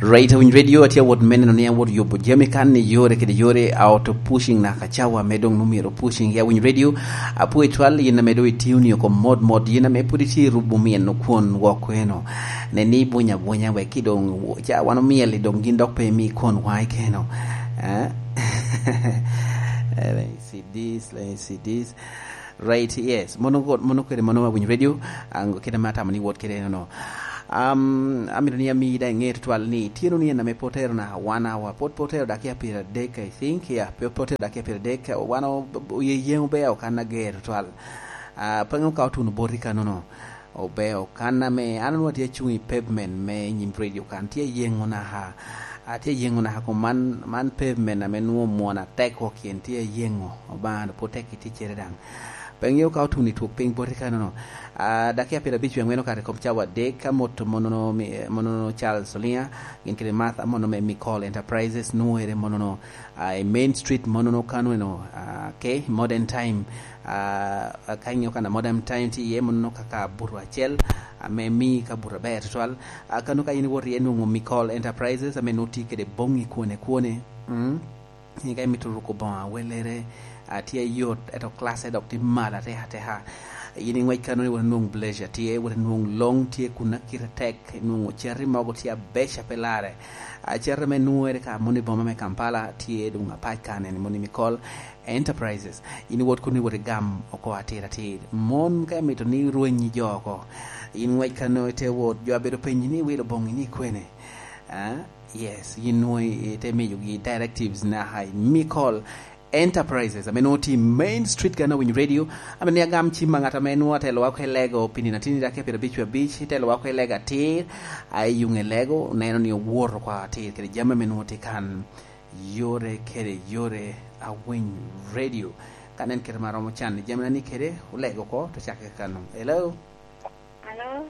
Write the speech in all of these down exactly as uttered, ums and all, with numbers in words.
Right, Awiny Radio, atye awot me neno ni awot yubo jami kan i yore kede yore, a auto pushing naka cawa me dong omyero pushing. Ya Awiny Radio, apwoyo twal yin ame dong itio ni oko mot mot, yin ame pwod itye i rubo myeno kwon wok kweno. Nen ni ibwonyo abwonya wek ki dong ca wan omyel i dong gin dok pe imi kwon waŋ i keno. Eh? Let me see this, let me see this. Right, yes. Mono go-, mono kwede, mono Awiny Radio, ango kede ma atamo ni wot kede eno no. Um, amito ni ami daŋ iŋe tutwal ni tye no ni en ame potero na one hour, pot potero dakika pyeradek, I think, yeah, pe-, potero dakika pyeradek, wan o-, oye yeŋo be okan ager tutwal. Ah, pe ŋeo ka otuno boti kano no. Obe okan ame an onwoŋo atye acuŋ i pavement me nyim radio kan, tye ayeŋo naka, atye ayeŋo naka kom man, man pavement ame nwoŋo omwon atek wok yen tye ayeŋo, Obaŋa pwod tek i ticcere daŋ. Pe ŋeo ka otuno i twok piny boti kano no. Ah, dakika pyeradek abic wie aŋwen okato i kom cawa adek, ka moto monono mi-, monono Charles Oliŋa, gin kede Martha mono me Mikol Enterprises, nwoŋere monono, ah, i Main Street monono kano eno, ah, okay, Modern Time, ah, ka iŋeo kan a Modern Time tye iye monono kaka buto acel, ame mi ka buto aber tutwal. Ah, kano ka in iwoto iye nwoŋo Mikol Enterprises, ame nwoŋo tye kede boŋŋi kwone kwone. Mm. Ka imito ruko boŋo awelere, a, tye ayot, ento classe dok tye malo atek ateka. In iŋwec kano ni wot inwoŋ Blazer tye, wot inwoŋ Long tye kun akite tek, inwoŋo cati mogo tye abeco a pe larre. A, cati ame nwoŋere ka moni i boma me Kampala tye doŋ apac kan eni, moni Mikol Enterprises. In iwot kun iwot igam oko atir atir. Mon ka imito ni irwenyi jo oko, in ŋwec kano ite wot, jo abedo penyi ni iwilo boŋi ni kwene. Ah, yes, yin nwoŋo ite miyogi directives naka i Mikol Enterprises, ame nwoŋo tye i Main Street kan Awiny Radio, ame ni agam cim a ŋat ame nwoŋo atelowa oko i Lego, pi nino atin i dakika pyeradek abic, itelowa oko i Lego atir, a i yuŋ i Lego, neno ni owoto oko atir kede jami ame nwoŋo tye kan, yore kede yore, Awiny Radio. Ka nen kite ma romo can i jami na ni kede, olego oko, to cakke kano. Hello? Hello?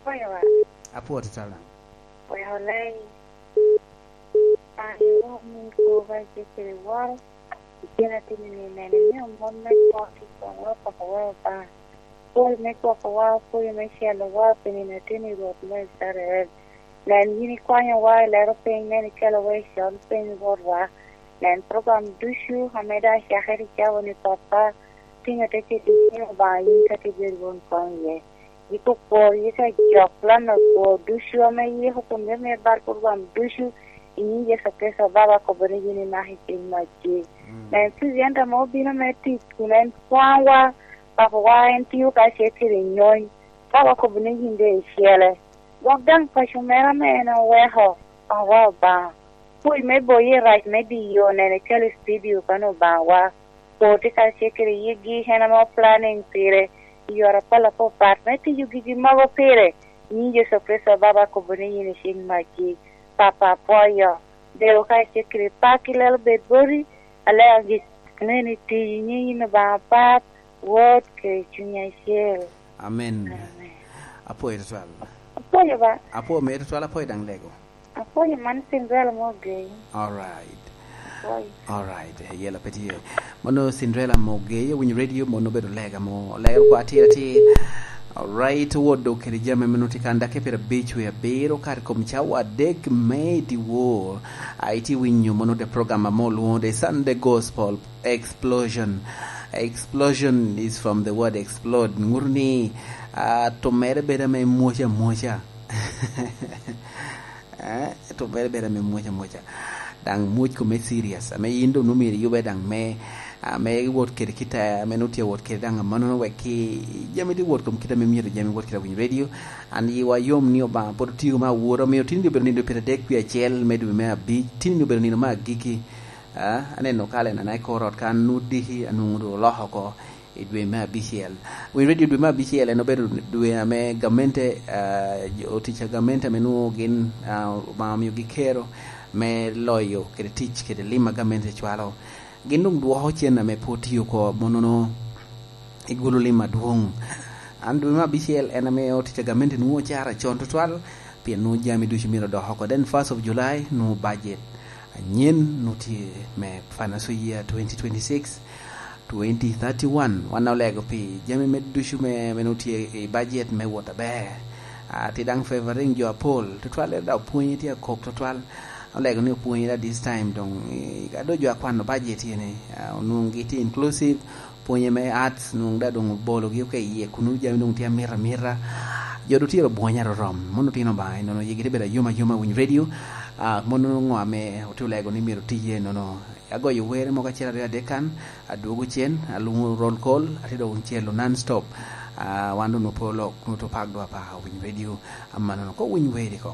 Apwoyo wa. Apwoo tutwal daŋ. Wek olei. An iwor min kwo ba icikere woro. Icen ateni ni nene ni omon me kwo ki kono poko wa Obaŋa. Pwoyo me gwoko wa, pwoyo me celo wa, pi nino ateni Rwot me Icrael. Nen, yin ikwanyo wa i lero piny, nen ikelo wa i con piny, Rwot wa. Nen program ducu ame daŋ acakere i cawa ni, Pappa, tingo te keto i ciŋ Obaŋa yin ka tye bedo won koŋ iye. Yiko kwor, yiko ajok, plan akwo ducu ame iyiko kun yam mio bal program ducu i nyiŋ Yecu Kricito, Baba, akobo ni yin imako i ciŋ macci. Mm. Nen, President ame obino me tic kun en kwaŋwa, Papawa, en tio kacel kede nyony. Baba, akobo ni yin doŋ icele. Gwok daŋ paco mere ame en oweko, Papawa Obaŋa. Pwoc me boyi i rac me diyo, nen ikelo i studio kan Obaŋawa. Kwo tye kacel kede yigi, en ame oplanning pire i yore apol apapat me tiyo gigi mogo pire. Nyiŋ Yecu Kricito, Baba, akobo ni yin icik macci. Papa, apwoyo. Deo kacel kede pak i lelo bed boti, alega gik aneni tiyi nyiŋ yin Obaŋa Pap, Wod, kede Cuny Acel. Amen. Amen. Apwoyo tutwal. Apwoyo ba. Apwoyo mere tutwal, apwoyo daŋ lego. Apwoyo man Cinderella Mogei. All right. Apwoyo. All right. Eh, yela pe tye. Mono Cinderella Mogei, Awiny Radio, mono obedo lega mo. Lega kwa atir atir. All right, Wod, dok kede jami ame nwoŋo tye kan dakika pyeradek wie abiro, kare kom cawa adek me dyewor. A, itye winyo mono the program ame olwoŋo The Sunday Gospel Explosion. Explosion is from the word explode. Ŋuto ni, ah, tumere bedo ame mwoco amwoca. Eh, tumere bedo ame mwoco amwoca. Daŋ mwoc kome serious. Ame yin doŋ nwoŋo myero iyube daŋ me, ah, me wot kede kite, ame nwoŋo tye awot kede daŋ amannono wek ki jami tye wot kom kite ame myero jami wot kede Awiny Radio. An yiwa yom ni Obaŋa pwod otio me awora, omiyo tin obedo nino pyeradek wie acel me dwe me abic, tin obedo nino me agikki. Ah, aneno kalenda na i kor ot kan, nwoŋo diki, anwoŋo doŋ oloko oko i dwe me abicel. Awiny Radio, dwe me abicel en obedo dwe ame gamente, ah, jo, otic a gamente ame nwoŋo gin, ah, Obaŋa omiogi kero me loyo kede tic kede lim a gamente cwalo. Gin doŋ dwoko cen ame pe otio oko, monono igolo lim adwoŋ. An dwe me abicel en ame otic a gamente nwoŋo ocara con tutwal, pien nwoŋo jami ducu myero odok oko. Then first of July nwoŋo budget anyen nwoŋo tye me financial year twenty twenty-six, twenty thirty-one. Wan olego pi jami me ducu me, me nwoŋo tye i budget me wot aber. Ah, tye daŋ favoring jo apol. Tutwal, en daŋ opwonye tye akok tutwal. Olego ni opwonye daŋ this time, dong, eh, ka doŋ jo akwano budget ene, ah, onwoŋo gitye inclusive, pwonye me arts, nwoŋo daŋ doŋ obologi oko i yie, kunu jami doŋ tye amita amita. Jo doŋ tye obwonyo arorom. Mon otino Obaŋa, inono yigi tye bedo ayom ayom a winy radio. Ah, mon ŋo ame otye olego ni myero tiye, inono agoyo wer mogo acel aryo adek kan, adwogo cen, alwoŋo roll call, atye doŋ celo non stop. Ah, wan doŋ nwoŋo pe olok, nwoŋo tye pak dwa pa winy radio. Amannono, ko winy wer iko.